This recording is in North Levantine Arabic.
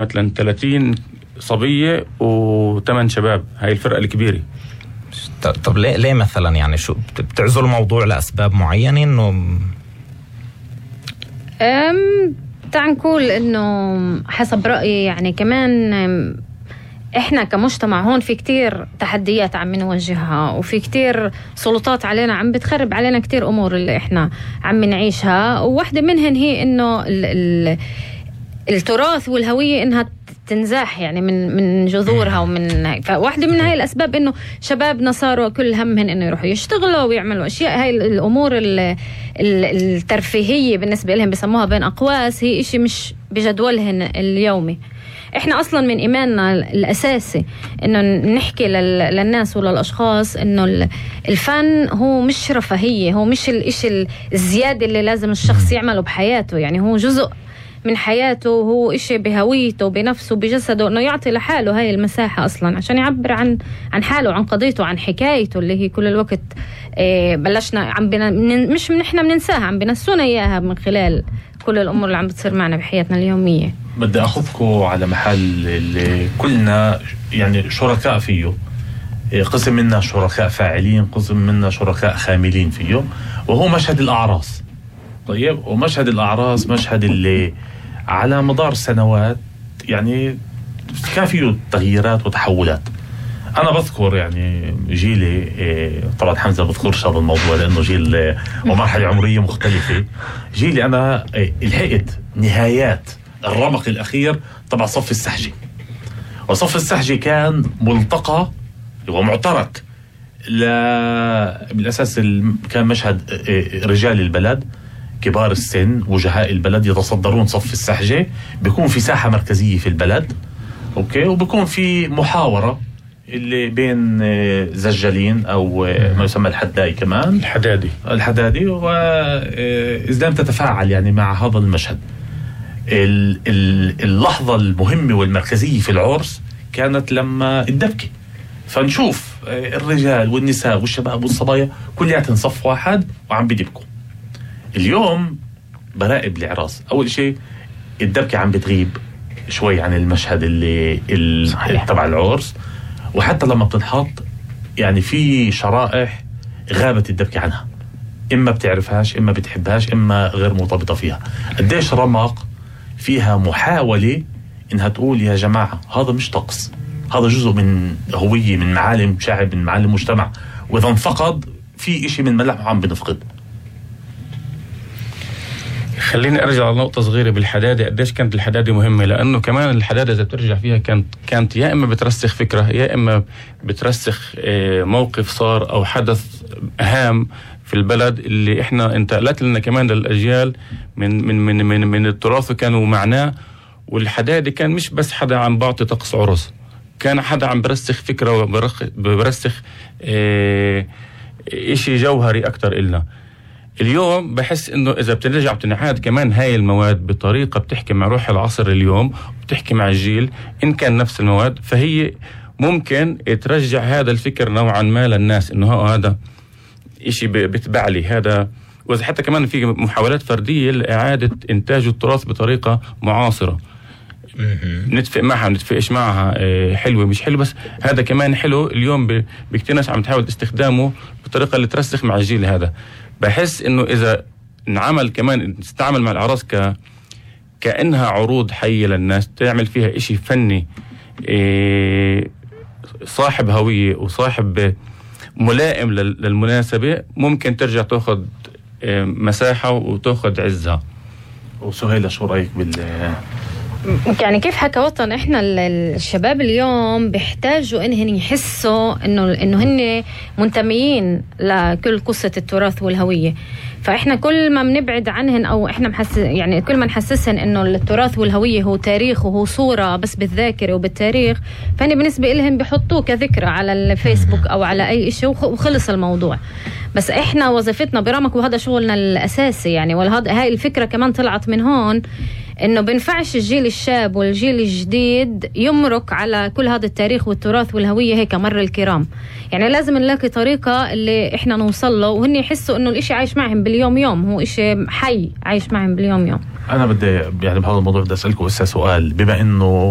مثلا 30 صبية و8 شباب، هاي الفرقة الكبيرة. طب ليه مثلا يعني شو بتعزل الموضوع لأسباب معينة؟ إنه تعال نقول إنه حسب رأيي يعني كمان إحنا كمجتمع هون في كتير تحديات عم نواجهها، وفي كتير سلطات علينا عم بتخرب علينا كتير أمور اللي إحنا عم نعيشها، وواحدة منهن هي إنه التراث والهوية إنها تنزاح يعني من جذورها، ومن فواحدة من هاي الأسباب إنه شبابنا صاروا كل همهن إنه يروحوا يشتغلوا ويعملوا أشياء. هاي الأمور الترفيهية بالنسبة لهم بسموها بين أقواس، هي إشي مش بجدولهن اليومي. إحنا أصلاً من إيماننا الأساسي إنه نحكي للناس وللأشخاص إنه الفن هو مش رفاهية، هو مش الإشي الزيادة اللي لازم الشخص يعمله بحياته، يعني هو جزء من حياته، هو إشي بهويته بنفسه بجسده، إنه يعطي لحاله هاي المساحة أصلاً عشان يعبر عن حاله، عن قضيته، عن حكايته اللي هي كل الوقت بلشنا مش نحن بننساها، عم بنسونا إياها من خلال كل الأمور اللي عم بتصير معنا بحياتنا اليومية. بدي أخذكم على محل اللي كلنا يعني شركاء فيه، قسم منا شركاء فاعلين، قسم منا شركاء خاملين فيه، وهو مشهد الأعراس. طيب، ومشهد الأعراس مشهد اللي على مدار سنوات يعني كان فيه تغييرات وتحولات. أنا بذكر يعني جيلي، طبعا حمزة بذكرش هذا الموضوع لأنه جيل ومرحلة عمرية مختلفة. جيلي أنا لحقت نهايات الرمق الأخير طبعا صف السحجي، وصف السحجي كان ملتقى ومعترك بالأساس كان مشهد رجال البلد كبار السن وجهاء البلد يتصدرون صف السحجة، بيكون في ساحة مركزية في البلد، أوكي، وبيكون في محاورة اللي بين زجالين أو ما يسمى الحداي، كمان الحدادي وإذا تتفاعل يعني مع هذا المشهد. اللحظة المهمة والمركزية في العرس كانت لما الدبكة، فنشوف الرجال والنساء والشباب والصبايا كلياتهم صف واحد وعم بيدبكوا. اليوم براقب العراس، أول شيء الدبكة عم بتغيب شوي عن المشهد اللي تبع العرس، وحتى لما بتنحط يعني في شرائح غابت الدبكة عنها، إما بتعرفهاش إما بتحبهاش إما غير مرتبطة فيها. قديش رمق فيها محاولة إنها تقول يا جماعة هذا مش طقس، هذا جزء من هوية، من معالم شعب، من معالم مجتمع، وإذا انفقد في إشي من ملامحه عم بنفقد. خليني أرجع لنقطة صغيرة بالحدادة. قديش كانت الحدادة مهمة، لأنه كمان الحدادة إذا بترجع فيها كانت يا إما بترسخ فكرة، يا إما بترسخ موقف صار أو حدث هام في البلد اللي إحنا انتقلت لنا كمان للأجيال من التراث وكانوا معناه. والحدادة كان مش بس حدا عم بعطي طقس عرس، كان حدا عم برسخ فكرة وبرسخ إشي جوهري أكتر إلنا. اليوم بحس إنه إذا بترجع بتنعاد كمان هاي المواد بطريقة بتحكي مع روح العصر اليوم وبتحكي مع الجيل، إن كان نفس المواد فهي ممكن ترجع هذا الفكر نوعا ما للناس إنه هذا إشي بتبع لي هذا. وإذا حتى كمان في محاولات فردية لإعادة إنتاج التراث بطريقة معاصرة، نتفق معها نتفقش معها، حلوة مش حلوة، بس هذا كمان حلو. اليوم بكتير ناس عم تحاول استخدامه بطريقة اللي ترسخ مع الجيل هذا. بحس إنه إذا نعمل كمان نستعمل مع الأعراس كأنها عروض حية للناس، تعمل فيها إشي فني صاحب هوية وصاحب ملائم للمناسبة، ممكن ترجع تأخذ مساحة وتأخذ عزها. وسهيلة شو رأيك يعني كيف حكى وطن؟ احنا الشباب اليوم بيحتاجوا انهم يحسوا انه هن منتميين لكل قصة التراث والهوية. فاحنا كل ما بنبعد عنهن او احنا يعني كل ما نحسسهن انه التراث والهوية هو تاريخ وهو صورة بس بالذاكرة وبالتاريخ، فهني بالنسبة لهم بيحطوه كذكرى على الفيسبوك او على اي شيء وخلص الموضوع. بس احنا وظيفتنا برامك وهذا شغلنا الاساسي يعني، هاي الفكرة كمان طلعت من هون، إنه بنفعش الجيل الشاب والجيل الجديد يمرق على كل هذا التاريخ والتراث والهوية هيك مر الكرام. يعني لازم نلاقي طريقة اللي إحنا نوصل له وهن يحسوا إنه الإشي عايش معهم باليوم يوم، هو إشي حي عايش معهم باليوم يوم. أنا بدي يعني بهذا الموضوع بدي أسألكم سؤال، بما إنه